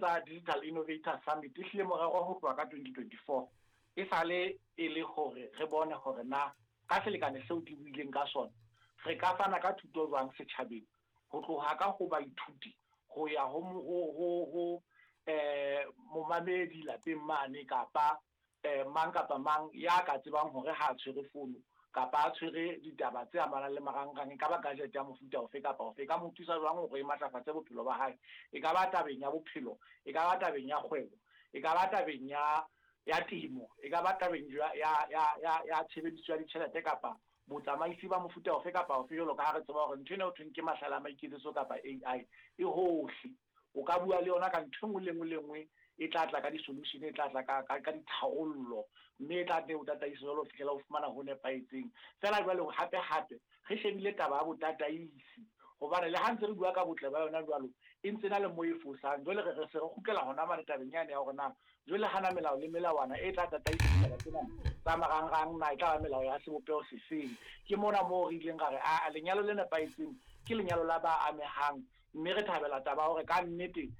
Tsa Digital Innovator Summit e hlile morero ho tloha ka 2024 e sale e le hore re bone hore na ka selekane seo ke buileng ka sona re ka fana ka thuto jwang setjhabeng ho tloha ka ho baithuti ho ya ho ho ho ho momamedi lapeng mane kapa Mang kapa mang ya ka tsebang hore ha a tshwere fono kapa a tshwere ditaba tse amanang le marangrang, e ka ba gadget ya mofuta ofe kapa ofe, e ka mo thusa jwang hore e matlafatse bophelo ba hae, e ka ba tabeng ya bophelo, e ka ba tabeng ya kgwebo, e ka ba tabeng ya ya temo, e ka ba tabeng ya ya ya ya ya tshebediso ya ditjhelete kapa botsamaisi ba mofuta ofe kapa ofe, jwalo ka ha re tseba hore ntho ena ho thweng ke mahlale a maiketsetso kapa AI e hohle. O ka bua le yona ka ntho e nngwe le nngwe le nngwe e tla tla ka di-solution, e tla tla ka, ka, ka ditharollo, mme e tla nne e o tataise jwalo ho fihlela o fumana ho nepahetseng. Feela jwale hape hape re shebile taba ya botataisi, hobane le ha ntse re bua ka botle ba yona jwalo, e ntse e na le moo e fosang. Jwale re re se re kgutlela hona mane tabeng yane ya hore na jwale hana melao le melawana e tla tataisa ditaba tsena tsa marangrang na e tla ba melao ya sebopeho sefeng. Ke mona moo re ileng ra re aa lenyalo le nepahetseng ke lenyalo la ba amehang. Mme re thabela taba ya hore ka nnete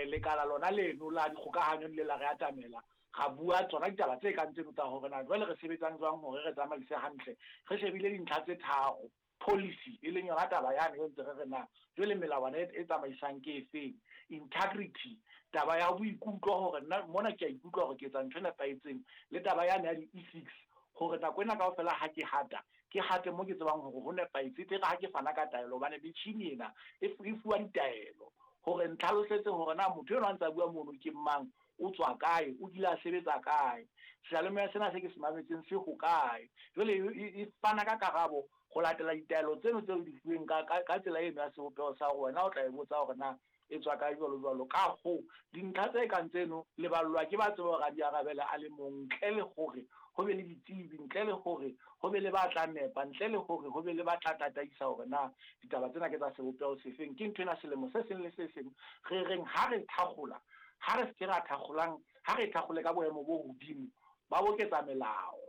lekala lona leno la dikgokahanyo le ile la re atamela, ra bua tsona ditaba tse kang tseno tsa hore na jwale re sebetsang jwang hore re tsamaise hantle. Re shebile dintlha tse tharo, policy, e leng yona taba yane eo ntse re re na jwale melawana e tsamaisang ke efeng, integrity, taba ya boikutlo hore nna mona ke a ikutlwa hore ke etsa ntho e nepahetseng, le taba yane ya di-ethics hore nako ena kaofela ha ke hata Ke hate mo ke tsebang hore ho nepahetse, e tle re ha ke fana ka taelo, hobane metjhini ena e e fuwa ditaelo hore ntlhalosetse hore na motho enwa a ntsa bua mono ke mang, o tswa kae, o kile a sebetsa kae, seyalemoya sena se ke se mametseng se hokae. Jwale e e fana ka karabo ho latela ditaelo tseno tseo di fuweng ka ka ka tsela eno ya sebopeho sa hore wena o tla e botsa hore na e tswa kae jwalo jwalo. Ka hoo, dintlha tse kang tseno leballwa ke ba tseba hore a di arabele a le mong ntle le hore ho be le ditsebi, ntle le hore ho be le ba tla nepa, ntle le hore ho be le ba tla tataisa hore na ditaba tsena ke tsa sebopeho sefeng. Ke ntho ena selemo se seng le se seng re reng ha re thakgola, ha re se ke ra thakgolang, ha re e thakgole ka boemo bo hodimo ba boketsa melao.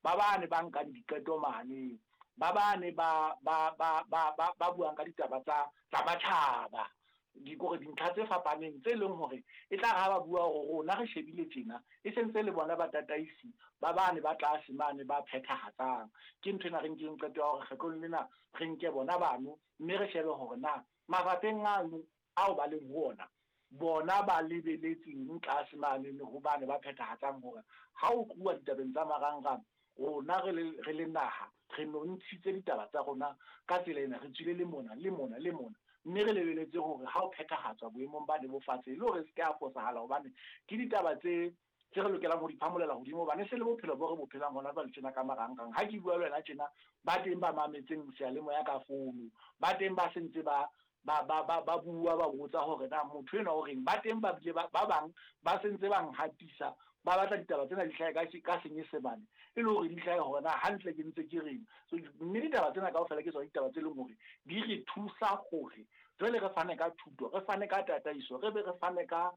Ba bane ba nkang diqeto mane, ba bane ba, ba, ba, ba, ba, ba buang ka ditaba tsa, tsa matjhaba, di, kore dintlha tse fapaneng tse leng hore e tla re ha ba bua hore rona re shebile tjena, e se ntse le bona batataisi ba bane ba tlase mane ba phethahatsang. Ke ntho ena re nkileng qeto ya hore kgetlong lena re nke bona bano mme re shebe hore na mafapheng ano ao ba leng ho ona, bona ba lebeletseng tlase mane le ho bane ba phethahatsang hore ha ho tluwa ditabeng tsa marangrang, rona re le, re le naha, re nontshitse ditaba tsa rona ka tsela ena, re tswile le mona, le mona, le mona, mme re lebeletse hore ha ho phethahatswa boemong bane bo fatshe, e le hore e se ke ya fosahala hobane ke ditaba tse tse re lokelang ho di phamolela hodimo hobane e se le bophelo bo re bo phelang hona jwale tjena ka marangrang. Ha ke bua le wena tjena, ba teng ba mametseng seyalemoya ka founu, ba teng ba se ntse ba ba ba ba ba bua ba botsa hore na motho enwa o reng. Ba teng ba bile ba ba bang ba se ntse ba nhatisa, ba batla ditaba tsena di hlahe ka ka Senyesemane e le hore di hlahe hore na hantle ke ntse ke reng. So mme ditaba tsena kaofela ke tsona ditaba tse leng hore di re thusa hore jwale re fane ka thuto, re fane ka tataiso, re be re fane ka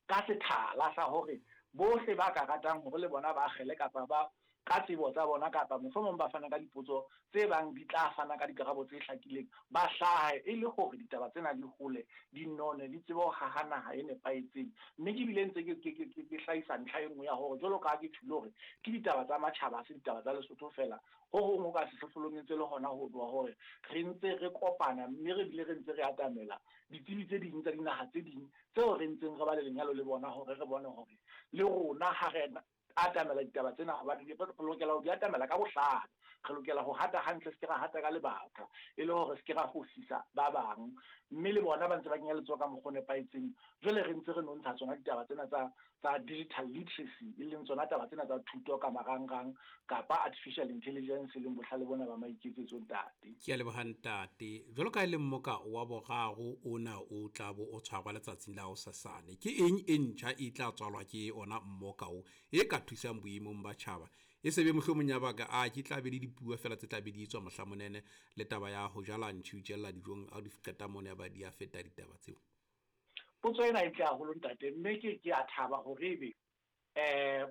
ka sethala sa hore bohle ba ka ratang hore le bona ba akgele kapa ba ka tsebo tsa bona kapa mohlomong ba fana ka dipotso tse bang di tla fana ka dikarabo tse hlakileng, ba hlahe e le hore ditaba tsena di hole, di none, di tsebe ho haha naha e nepahetseng. Mme ke bile ntse ke, ke, ke, ke hlahisa ntlha e nngwe ya hore jwalo ka ha ke tjholo hore ke ditaba tsa matjhaba, ha se ditaba tsa Lesotho feela, ho hong ho ka sehlohlolong e ntse le hona ho tloha hore re ntse re kopana mme re bile re ntse re atamela ditsebi tse ding tsa dinaha tse ding tseo re ntseng re ba le lenyalo le bona hore re bone hore le rona ha re atamela ditaba tsena, hobane re lokela ho di atamela ka bohlale. Re lokela ho hata hantle, se ke ra hata ka lebaka, e le hore se ke ra fosisa ba bang. Mme le bona ba ntse ba kenya letsoho ka mokgwa o nepahetseng. Jwale re ntse re nontsha tsona ditaba tsena tsa tsa digital literacy, e leng tsona taba tsena tsa thuto ka marangrang kapa artificial intelligence, e leng bohlale bona ba maiketsetso, ntate. Ke a leboha ntate. Jwalo ka e le mmoka wa boraro ona o tla bo o tshwarwa letsatsing la hosasane, ke eng e ntjha e tla tswalwa ke ona mmoka o e ka thusang boemong ba tjhaba? E se be mohlomong ya baka a ke tla be le dipuo fela tse tla be di etswa mohla monene le taba ya ho jala ntšhi o tjella dijong ha o di qeta mono ya ba di a feta ditaba tseo. Potso ena e ntle haholo ntate, mme ke ke a thaba hore ebe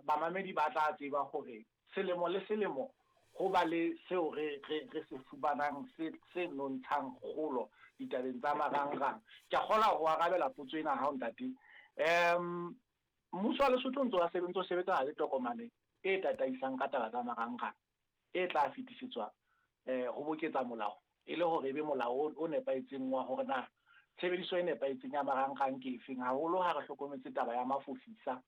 bamamedi ba tla tseba hore selemo le selemo ho ba le seo re re re se fumanang se se nontshang kgolo ditabeng tsa marangrang. Ke a kgolwa ho arabela potso ena ya hao ntate. Mmuso wa Lesotho o ntse wa ntse o sebetsana le tokomane e tataisang ka taba tsa marangrang e tla fetisetswa ho boketsa molao e le hore e be molao o nepahetseng wa hore na tshebediso e nepahetseng ya marangrang ke efeng, haholo ha re hlokometse taba ya mafofisa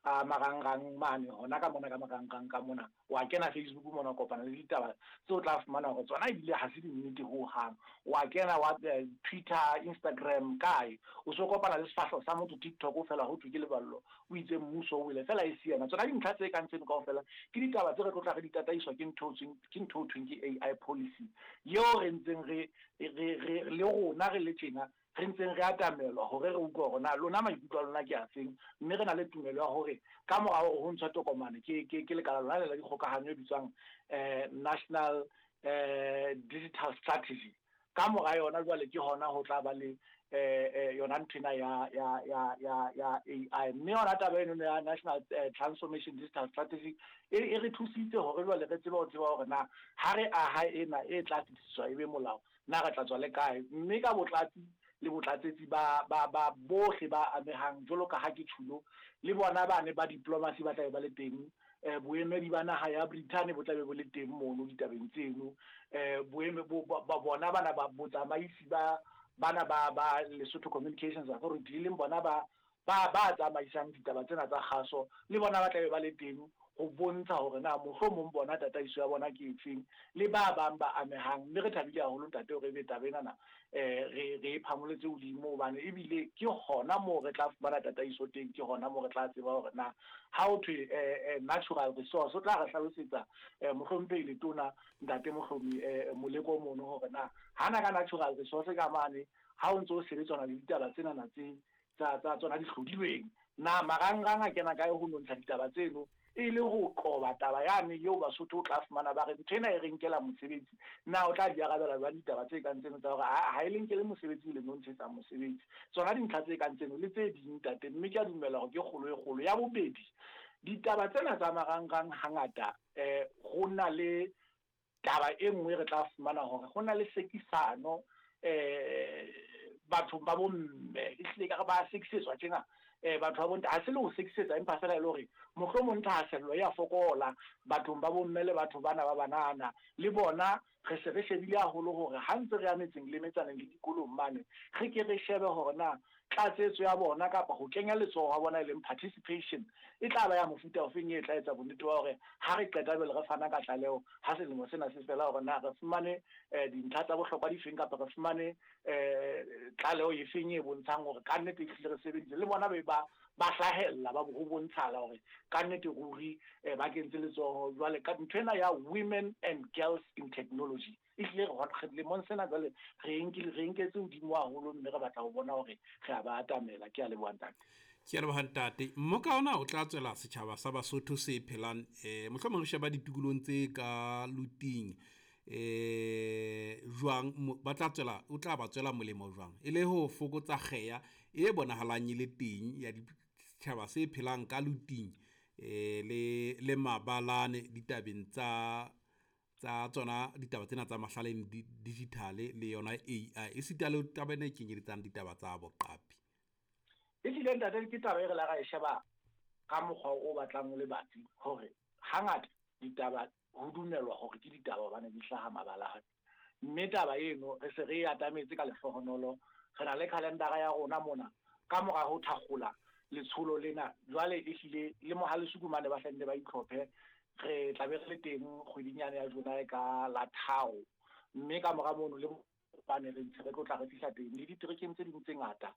a marangrang mane hona ka mona ka marangrang ka mona. Wa kena Facebook mona, o kopana le ditaba tseo o tla fumana hore tsona ebile ha se dinnete hohang. Wa kena wa Twitter, Instagram, kae, o so kopana le sefahleho sa motho TikTok fela ho thwe ke Leballo o itse mmuso o wele, fela e se yena. Tsona dintlha tse kang tseno kaofela ke ditaba tse re tlo tla re di tataiswa ke ntho ke ntho ho thweng ke AI policy, eo re ntseng re re le rona re le tjena re ntseng re atamelwa hore re utlwe hore na lona maikutlo a lona ke afeng. Mme re na le tumelo ya hore ka mora hore ho ntshwa tokomane ke lekala lona le la dikgokahanyo e bitswang National Digital Strategy, ka mora yona jwale ke hona ho tla ba le yona nthwena ya AI. Mme yona taba eno ya National Transformation Digital Strategy e re thusitse hore jwale re tsebe ho tseba hore na ha re aha ena e tla fetisiswa e be molao, na re tla tswa le kae. Mme ka botlatsi le botlatsetsi ba bohle ba amehang, jwalo ka ha ke tjhulo, le bona bane ba diplomacy ba tla be ba le teng, boemedi ba naha ya Britain bo tla be bo le teng mono ditabeng tseno, boeme ba bona bana ba botsamaisi ba bana ba Lesotho Communications Authority, e leng bona ba tsamaisang ditaba tsena tsa kgaso, le bona ba tla be ba le teng ho bontsha hore na mohlomong bona tataiso ya bona ke efeng, le ba bang ba amehang. Mme re thabile haholo ntate hore ebe taba enana re e phamoletse hodimo, hobane ebile ke hona moo re tla fumana tataiso teng, ke hona moo re tla tseba hore na ha ho thwe natural resource, o tla re hlalosetsa mohlomphehi letona ntate Mohlomi Moleko mono hore na hana ka natural resource ka mane ha o ntso o sebetsana le ditaba tsenana tse tsa tsona di hlodilweng, na marangrang a kena kae ho nontsha ditaba tseno, e le ho qoba taba yane eo Basotho o tla fumana ba re ntho ena e re nkela mosebetsi. Na o tla di arabela jwang ditaba tse kang tseno tsa hore ha e le nkele mosebetsi, le nontshetsa mosebetsi? Tsona dintlha tse kang tseno le tse ding ntate, mme ke a dumela hore ke kgolo e kgolo. Ya bobedi, ditaba tsena tsa marangrang hangata ho na le taba e nngwe re tla fumana hore ho na le sekisano bathong ba bomme, ehlile ka re ba sekisetswa tjena batho ba bontate, ha se le ho sekisetsa empa fela e le hore mohlomong thahasello ya fokola bathong ba bomme le batho bana ba banana. Le bona re se re shebile haholo hore ha ntse re ya metseng le metsaneng le dikolong mane, re ke re shebe hore na tlatsetso ya bona kapa ho kenya letsoho ha bona e leng participation e tla ba ya mofuta ofeng, e tla etsa bonnete ba hore ha re qeta jwale re fana ka tlaleho ha selemo sena se fela hore na re fumane dintlha tsa bohlokwa difeng, kapa re fumane tlaleho efeng e bontshang hore ka nnete ehlile re sebeditse. Le bona be ba hlahella ba ho bontshala hore ka nnete ruri ba kentse letsoho. Jwale ka ntho ena ya women and girls in technology ehlile re lemong sena jwale re nketse hodimo haholo, mme re batla ho bona hore re a ba atamela. Ke a leboha ntate. Ke a leboha ntate. Mmoka ona o tla tswela setjhaba sa Basotho se phelang mohlomong re sheba ditukulong tse ka luting jwang, ba tla tswela, o tla ba tswela molemo jwang, e le ho fokotsa kgeya e bonahalang e le teng ya ditjhaba se phelang ka luting le mabalane ditabeng tsa tsona ditaba tsena tsa mahlaleng digital le yona AI, esita le taba ena e kenyeletsang ditaba tsa boqapi. Ehlile ntate, ke taba e re la ra e sheba ka mokgwa o batlang o le batsi, hore hangata ditaba ho dumelwa hore ke ditaba hobane di hlaha mabalane. Mme taba eno re se re e atametse ka lehlohonolo, re na le calendar ya rona mona ka mora ho thakgola letsholo lena. Jwale ehlile le Mohalesuku mane ba hlenne ba itlhophe, re tla be re le teng kgweding yane ya July ka la 3, mme ka mora mono le bane re ntse re tlo tla re fihla teng le diterekeng tse ding tse ngata.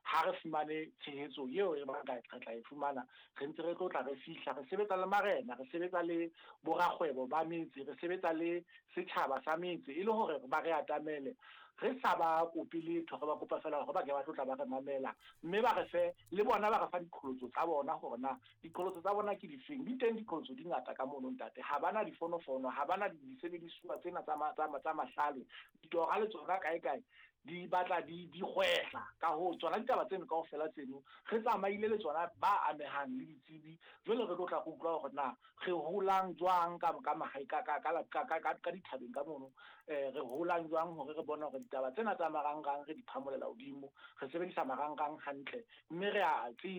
Ha re fumane tshehetso eo re batla re tla e fumana, re ntse re tlo tla re fihla, re sebetsa le marena, re sebetsa le borakgwebo ba metse, re sebetsa le setjhaba sa metse, e le hore ba re atamele. Re sa ba kope letho, re ba kopa fela hore ba ke ba tlo tla ba re mamela, mme ba re fe le bona ba re fa diqholotso tsa bona hore na diqholotso tsa bona ke difeng. Di teng diqholotso di ngata ka mono ntate, ha bana difonofono, ha bana disebedisuwa tsena tsa mahlale, ditora le tsona kae kae. Di batla di di gwehla. Ka hoo, tsona ditaba tseno kaofela tseno re tsamaile le tsona ba amehang le ditsebi. Jwale re tlo tla re utlwa hore na re holang jwang ka ka mahae ka ka ka ka ka ka ka dithabeng ka mono. Re holang jwang hore re bone hore ditaba tsena tsa marangrang re di phamolela hodimo, re sebedisa marangrang hantle mme re a tseba.